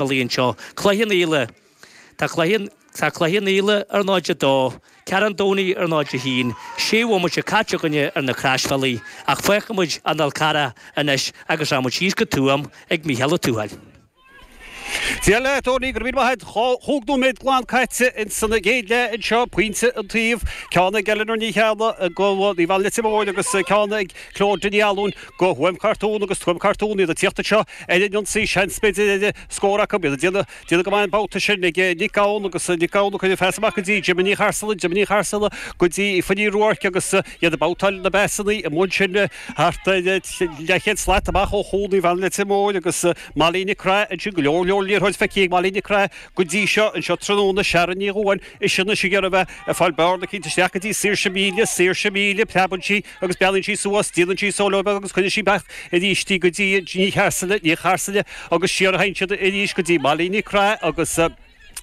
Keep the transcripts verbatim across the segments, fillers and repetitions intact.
Bhaile anseo. Cloich Cheann Fhaola. Tá Cloich Tá Cloich Cheann Fhaola ar náid a dó, Ceathrú an Domhnaigh ar náid a haon, sé bhomaite caite againne ar na croisbhealaí, ach fágfaidh muid an Fhál Carrach anois agus rachaidh muid síos go Tuaim ag Mícheál Ó Tuathail. Dia leat, Tony, go raibh míle maith agat. Chúig nóiméad glan caite ins an gcéad leath anseo, pointe an taobh, ceann ag Eleanor Ní Cheallaigh go Naomh Anna Leitir Móir agus ceann ag Clodagh Ní Fhallúin go Tuaim Cartún agus Tuaim Cartún iad ag tíocht anseo ar an ionsaí, seans b'fhéidir ar scór acu, iad ag déanamh déanamh go maith an babhta sin ag Nic Gabhann agus Nic Gabhann ag cur an phas amach go dtí Jimmy Ní Charsaile, Jimmy Ní Charsaile go dtí Aoife Ní Ruairc agus iad ag babhtáil na bpasannaí amuigh ansin thart ar leathchéad slat amach ó chúl Naomh Anna Leitir Móir agus Molly Nic Craith ansin go leor leor liathróid feicthe ag Molly Nic Craith go dtí seo anseo tráthnóna, Sharon Ní Dhubháin ise anois ag iarraidh a bheith ag fáil bearna eicínt isteach go dtí Saoirse Míle, Saoirse Míle, preabann sí agus breathnaíonn sí suas, déanann sí solo beag agus cuireann sí amach arís í go dtí Ní Charsaile, Ní Charsaile agus siar a théann siad arís go dtí Molly Nic Craith agus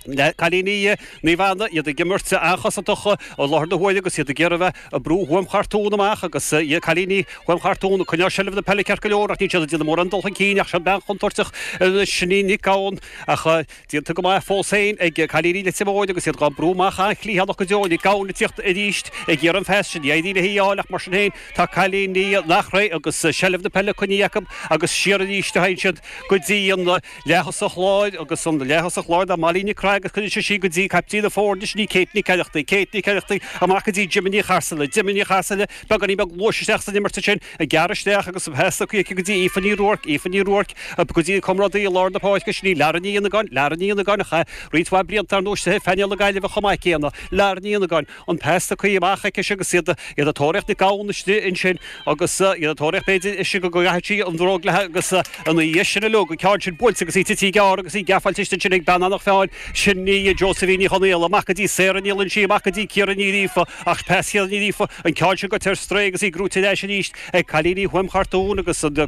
cailíní Naomh Anna, iad ag imirt an-chosantach i láthair na huaire agus iad ag iarraidh a bheith ag brú Thuaim Chartún amach agus cailíní Thuaim Chartún ag coinneáil seilbh na peile ceart go leor ach níl siad ag déanamh mórán dul chun cinn ach seo bean chontúirteach anois, sin í Nic Gabhann ach déanta go maith fós féin ag cailíní Leitir Móir agus iad dhá brú amach an-chliathánach go deo. Nic Gabhann ag tíocht arís ag iarraidh an phas sin, ní éiríonn léi í a fháil ach mar sin féin tá cailíní Eachréidh agus seilbh na peile coinnithe acu agus siar arís a théann siad go dtí an leath-thosach láir agus an leath-thosach láir ná Molly Nic Craith agus cuireann sí sí go dtí caiptín na foirne, sin í Kate Nic Oireachtaigh, Kate Nic Oireachtaigh amach go dtí Jimmy Ní Charsaile, Jimmy Ní Charsaile beagáinín beag luais isteach san imirt ansin, ag gearradh isteach agus an pas tugtha aici go dtí Aoife Ní Ruairc, Aoife Ní Ruairc go dtí a comrádaí i lár na páirce, sin í Lara Ní Fhionnagáin, Lara Ní Fhionnagáin a chaith roinnt mhaith blianta ar nós ar phainéal na Gaillimhe chomh maith céanna, Lara Ní Fhionnagáin, an pas tugtha amach aici agus iad ag tóraíocht Nic Gabhann istigh ansin agus iad ag tóraíocht b'fhéidir ise go gcaithfidh sí an bhróg léi agus ina dhiaidh sin uilig an ceann sin buailte agus í tite gearr agus í geafáilte istigh ansin ag bean Eanach Mheáin, sin í Josephine Ní Chonaola, amach go dtí Sarah Ní Loinsigh, amach go dtí Ciara Ní Ghríofa ach pas Chiara Ní Ghríofa, an ceann sin goite ar strae agus í gnóite ar ais arís ag cailíní Thuaim Chartún agus an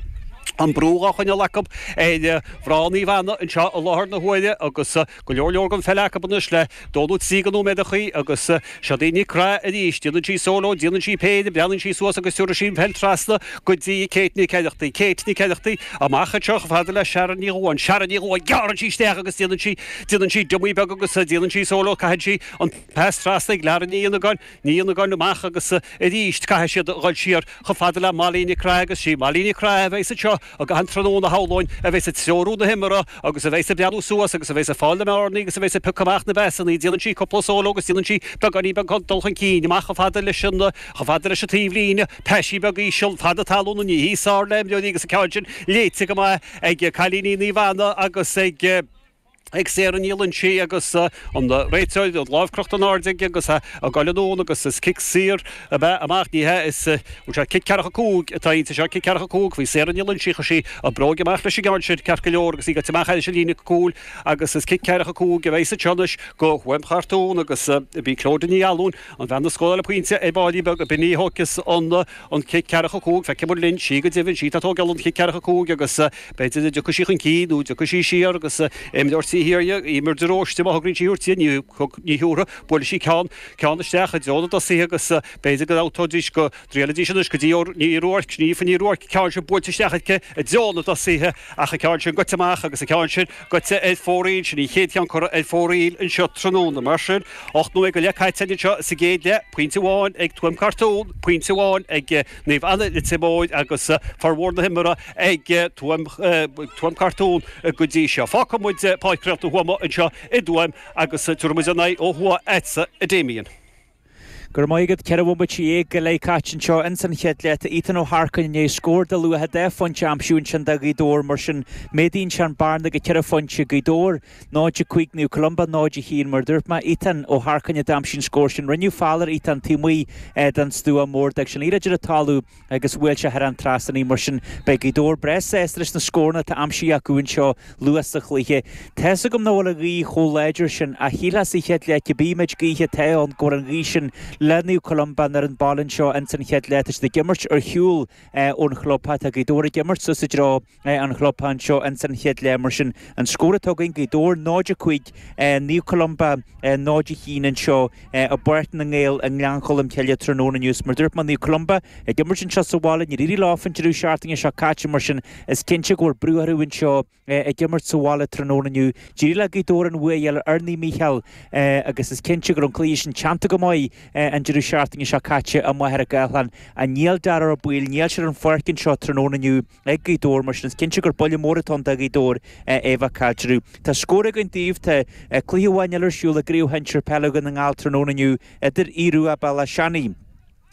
an brú dhá choinneáil acu ar mhná Naomh Anna anseo i láthair na huaire agus go leor leor den pheil acu anois le dó nó trí de nóiméadachaí agus siod í Nic Craith arís. Déanann sí solo, déanann sí péire, breathnaíonn sí suas agus tabharfaidh sí an pheil trasna go dtí Kate Nic Oireachtaigh. Kate Nic Oireachtaigh amach anseo chomh fada le Sharon Ní Dhubháin. Sharon Ní Dhubháin, gearrann sí isteach agus déanann sí, déanann sí dummy beag agus déanann sí solo, caitheann sí an pas trasna ag Lara Ní Fhionnagáin, Ní Fhionnagáin amach agus arís caithfidh siad a dhul siar chomh fada le Molly Nic Craith agus sí Molly Nic Craith a bheas anseo i gcaitheamh an tráthnóna shamhlóinn a bheas ag treorú na himeartha agus a bheas ag breathnú suas agus a bheas ag fáil na mbearnaí agus a bheas ag piocadh amach na bpasannaí. Déanann sí cúpla solo agus déanann sí beagáinín beag dul chun cinn amach chomh fada leis an chomh fada leis an taobhlíne. Paisín beag íseal fada talún ní hí sár le imreoirí agus an ceann sin léite go maith ag cailíní Naomh Anna agus ag ag Sarah Ní Loinsigh agus an réiteoir, an lámh crochta in airde aige agus ag goil anonn agus is cic saor ab ea amach, ní hea, is bhfuil sé cic ceathracha cúig atá inti seo, cic ceathracha cúig, bhí Sarah Ní Loinsigh, chuir sí a bróig amach leis an gceann sin ceart go leor agus í gaite amach thairis an líne cúil agus is cic ceathracha cúig a bheas anseo anois go Thuaim Chartún agus b'í Clodagh Ní Fhallúin, an bhean a scóráil an pointe ar ball beag, b'in í a thógfas an an cic ceathracha cúig, feicfidh muid linn, sí go deimhin, sí atá ag tógáil an chic ceathracha cúig agus b'fhéidir go dtiocfaidh sí chun cinn nó dtiocfaidh sí siar agus imreoir taobh thiar di, Eimear de Róiste, má thograíonn sí a thabhairt di, ní ní thiúrfaidh, buailfidh sí ceann, ceann isteach i dtreo na dtosaithe agus b'fhéidir go dtabhtóidís, go dtriailfidís anois go dtí Ní Ruairc, ní Aoife Ní Ruairc, ceann sin buailte isteach aici i dtreo na dtosaithe ach an ceann sin goite amach agus an ceann sin goite ar fóraoil, sin an chéad cheann curtha ar fóraoil anseo tráthnóna. Mar sin, ocht nóiméad go leith caite anseo sa gcéad leath, pointe amháin ag Tuaim Cartún, pointe amháin ag Naomh Anna Leitir Móir agus formhór na himeartha ag Tuaim, Tuaim Cartún go dtí seo. Fágfaidh muid Páirc Réalt na Thuama anseo i dTuaim agus tabharfaidh muid ár n-aghaidh ó thuaidh agatsa, a Damien. Go raibh maith agat. Ceithre bhomaite dhéag go leith caite anseo ins an chéad leath. Tá Ethan Ó hEarcáin i ndiaidh scór de luach dhá phointe a aimsiú ansin do Ghaoth Dobhair. Mar sin, méadaíonn sé an bearna go ceithre phointe. Gaoth Dobhair náid a cúig, Naomh Columba náid a haon. Mar a dúirt mé, Ethan Ó hEarcáin a d'aimsigh an scór sin. Rinneadh feall ar Ethan taobh amuigh den stua mór. D'fhág sé an liathróid ar an talamh agus bhuail sé thar an trasnán í. Mar sin, beidh Gaoth Dobhair breá sásta leis na scóranna atá aimsithe acu anseo luath sa chluiche. Tá's agam nach bhfuil an ghaoth chomh láidir sin, ach shílfeá sa chéad leath cibé méid gaoithe atá ann go bhfuil an ghaoth sin le Naomh Columba ar an baile anseo ins an chéad leath. Tá siad ag imirt ar shiúl ón chlubtheach. Tá Gaoth Dobhair ag imirt suas i dtreo an chlubtheach anseo ins an chéad leath. Mar sin, an scór atá againn, Gaoth Dobhair náid a cúig, Naomh Columba náid a haon anseo i bPáirc na nGael i nGleann Cholm Cille tráthnóna inniu. Mar dúirt mé, Naomh Columba ag imirt anseo sa bhaile, níor éirigh leo an deireadh seachtaine seo caite, mar sin is cinnte go bhfuil brú orthu anseo ag imirt sa bhaile tráthnóna inniu. D'éirigh le Gaoth Dobhair an bua a fháil ar Naomh Mícheál agus is cinnte go raibh an cluiche sin teannta go maith an deireadh seachtaine seo caite i Machaire Gathlán. Níl Darragh Ó Baoill, níl sé ar an pháirc anseo tráthnóna inniu ag Gaoth Dobhair, mar sin is cinnte gur buille mór atá ann do Ghaoth Dobhair é bheith caillte. Tá scór againn daoibh, tá cluiche amháin eile ar siúl i gCraobh Shinsir Peile Dhún na nGall tráthnóna inniu idir Aodh Rua Bealach Seanaidh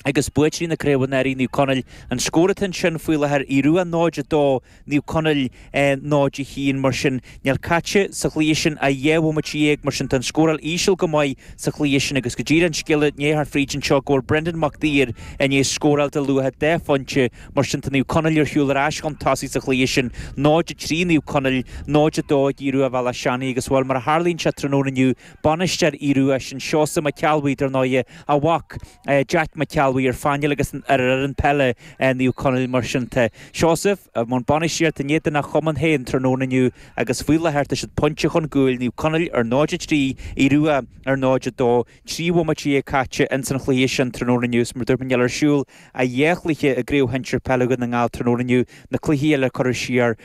agus buaiteoirí na craoibhe anuraidh, Naomh Conaill. An scór atá ansin faoi láthair, Aodh Rua náid a dó, Naomh Conaill náid a haon. Mar sin, níl caite sa chluiche sin ach dhá bhomaite dhéag, mar sin tá an scóráil íseal go maith sa chluiche sin agus go díreach an scéala i ndiaidh theacht fríd anseo go bhfuil Brendan Mac Duibhir i ndiaidh scóráil de luach dhá phointe. Mar sin tá Naomh Conaill ar shiúl ar ais chun tosaigh sa chluiche sin, náid a trí Naomh Conaill, náid a dó ag Aodh Rua Bhealach Seanaidh agus bhuel mar a tharlaíonn sé tráthnóna inniu, bainisteoir Aodh Rua, sin Seosamh Mac Ceallbhuí, dar ndóighe, a mhac Jack Mac Ceallbhuí ar phainéal agus ar fhoireann peile Naomh Conaill. Mar sin tá Seosamh i mbun bainistíochta in éadan a chumann féin tráthnóna inniu agus faoi láthair tá siad pointe chun cúil, Naomh Conaill ar náid a trí, Aodh Rua ar náid a dó, trí bhomaite dhéag caite ins an chluiche sin tráthnóna inniu. Mar dúirt mé níl ar siúl ach dhá chluiche i gCraobh Shinsir Peile Dhún na nGall tráthnóna inniu, na cluichí eile curtha siar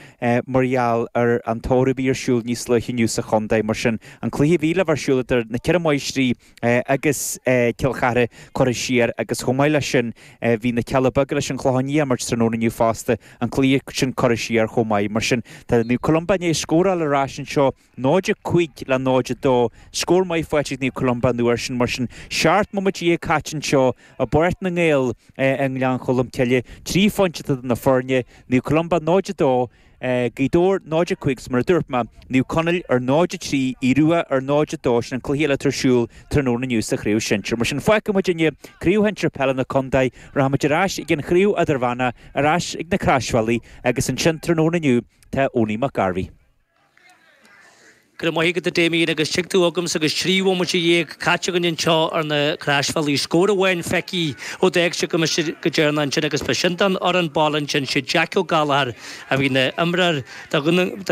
mar gheall ar an tórramh a bhí ar siúl níos luaithe inniu sa chontae. Mar sin an cluiche a bhí le bheith ar siúl idir na Ceithre Máistrí agus Cill Chartha curtha siar agus chomh maith leis sin bhí na Cealla Beaga leis an Chlochán Liath ag imirt tráthnóna inniu fosta, an cluiche sin curtha siar chomh maith. Mar sin tá Naomh Columba i ndiaidh scóráil ar ais anseo, náid a cúig le náid a dó, scór maith faighte ag Naomh Columba an uair sin. Mar sin seacht mbomaite dhéag caite anseo i bPáirc na nGael i nGleann Cholm Cille, trí phointe atá idir na foirne, Naomh Columba náid a dó, Gaoth Dobhair náid a cúig 's mar a dúirt mé, Naomh Conaill ar náid a trí, Aodh Rua ar náid a dó, sin an cluiche eile atá ar siúl tráthnóna inniu sa chraobh shinsir. Mar sin fágfaidh muid inniu craobh shinsir peile na contae, rachaimid ar ais ag an chraobh idirmheánach, ar ais ag na Croisbhealaí agus ansin tráthnóna inniu tá Owenie McGarvey. Go raibh maith agat a Damien agus tig tú chugamsa agus trí bhomaite dhéag caite againn anseo ar na Croisbhealaí. Scór amháin feicthe ó d'fhág sibh go go deireanach ansin agus ba sin don fhoireann baile ansin, sé Jack Ó Gallchóir a bhí ina imreoir do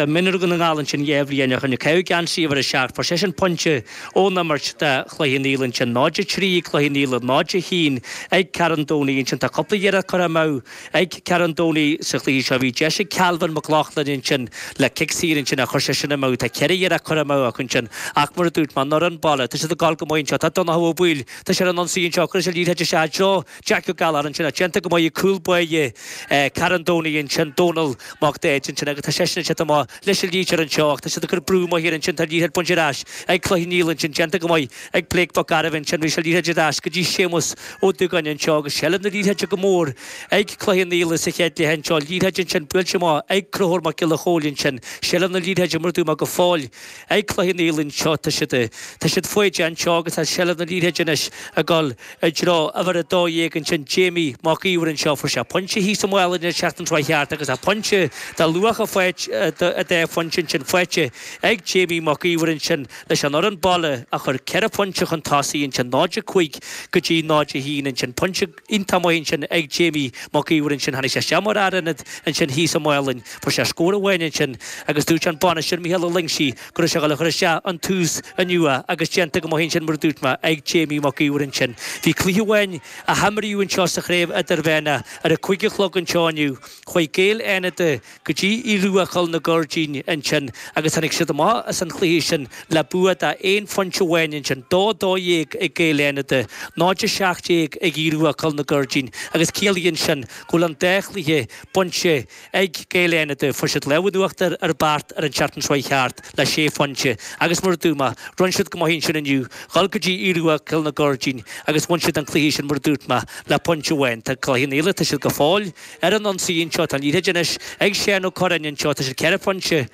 mhionúir Dhún na nGall ansin dhá bhliain ó shin. Ag caitheamh geansaí uimhir a seacht. Fuair seisean pointe ón imirt do Chloich Cheann Fhaola ansin. náid a trí ag Cloich Cheann Fhaola, náid a haon ag Ceathrún Domhnaigh ansin. Tá cúpla iarracht curtha amú ag Ceathrún Domhnaigh sa chluiche seo. Bhí deis ag Calvin Mac Lochlainn ansin le cic saor ansin ach chuir seisean amú. Tá ceithre iarracht curtha amú acu ansin ach mar a dúirt mé, an fhoireann baile, tá siad ag gabháil go maith anseo. Tá Donncha Ó Baoill, tá sé ar an ionsaí anseo, cuireann sé liathróid isteach i dtreo Jack Ó Gallchóir ansin ach déanta go maith ag cúl báire Ceathrún Domhnaigh ansin, Dónal Mac Daid ansin agus tá seisean ag teacht amach leis an liathróid anseo ach tá siad ag cur brú maith air ansin, tá an liathróid bainte ar ais ag Cloich Cheann Fhaola ansin, déanta go maith ag Blake Mac Gairbheith ansin, bhí sé liathróid ar ais go dtí Séamus Ó Dúgáin anseo agus seilbh na liathróide go mór ag Cloich Cheann Fhaola sa chéad leath anseo, liathróid ansin buailte amach ag Conchúr Mac Giolla Chóill ansin, seilbh na liathróide mar a dúirt mé go fóill ag Cloich Cheann Fhaola anseo, tá siad tá siad faoi deich anseo agus tá seilbh na liathróide anois ag dul i dtreo uimhir a dó dhéag ansin, Jamie Mac Íomhair anseo, fuair sé pointe thíos i Maigh Eo an tseachtain seo thart agus tá pointe de luach a dá phointe ansin faighte ag Jamie Mac Íomhair ansin leis an fhoireann baile a chur ceithre phointe chun tosaigh ansin, náid a cúig go dtí náid a haon ansin. Pointe iontach maith ansin ag Jamie Mac Íomhair ansin. Tháinig sé isteach mar fhear ionaid ansin thíos i Maigh Eo. Fuair sé scór amháin ansin agus dúirt an bainisteoir Mícheál Ó Loingsigh go raibh sé ag dul a chur isteach an tús inniu agus déanta go maith ansin mar a dúirt mé ag Jamie Mac Íomhair ansin. Bhí cluiche amháin a himríodh anseo sa chraobh idirmheánach ar a cúig a chlog anseo inniu. Chuaigh Gaeil Fhánada go dtí Aodh Rua Choill na Gairdín ansin agus tháinig siad amach as an chluiche sin le bua de aon phointe amháin ansin, dó dó dhéag ag Gaeil Fhánada, náid a seacht déag ag Aodh Rua Choill na Gairdín agus ciallaíonn sin go bhfuil an dá chluiche bainte ag Gaeil Fhánada. Fuair siad lámh in uachtar ar Beart ar an tseachtain seo thart le sé phointe agus mar a dúirt mé, rinne siad go maith ansin inniu, dhul go dtí Aodh Rua Cill na Gairdín agus bhain siad an cluiche sin mar a dúirt mé le pointe amháin. Tá Cloich Cheann Fhaola, tá siad go fóill ar an ionsaí anseo, tá an liathróid anois ag Seán Ó Curráin anseo, tá siad ceithre phointe.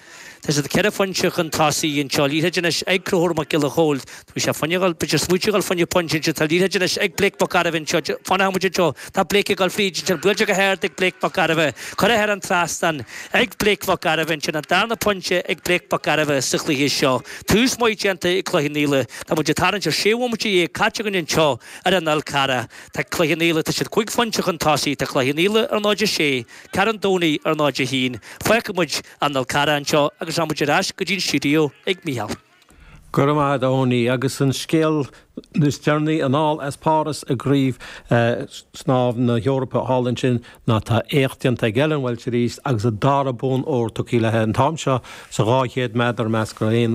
Tá siad ceithre phointe chun tosaigh anseo. Liathróid anois ag Conchúr Mac Giolla Chóill. Bhí sé fá choinne dhul, b'fhéidir smaoitiú dhul fá choinne pointe anseo. Tá liathróid anois ag Blake Mac Gairbheith anseo. Fanfaidh muid anseo. Tá Blake ag dul fríd ansin. Buailte go hard ag Blake Mac Gairbheith. Curtha thar an trasnán ag Blake Mac Gairbheith ansin. An darna pointe ag Blake Mac Gairbheith sa chluiche seo. Tús maith déanta ag Cloich Cheann Fhaola. Tá muid ag tarraingt ar sé bhomaite dhéag caite againn anseo ar an Fhál Carrach. Tá Cloich Cheann Fhaola, tá siad cúig phointe chun tosaigh. Tá Cloich Cheann Fhaola ar náid a sé, Ceathrú an Domhnaigh ar náid a haon. Fágfaidh muid an Fhál Carrach anseo agus rachaidh muid ar ais go dtí an stiúideo ag Mícheál. Go raibh maith agat a Tony. Agus an scéal is deireanaí anall as Páras i gCraobh Snámh na hEorpa thall ansin ná tá éacht déanta ag Ellen Walshe arís agus a dara bonn óir tugtha léi an t-am seo sa dhá chéad méadar measctha aonair.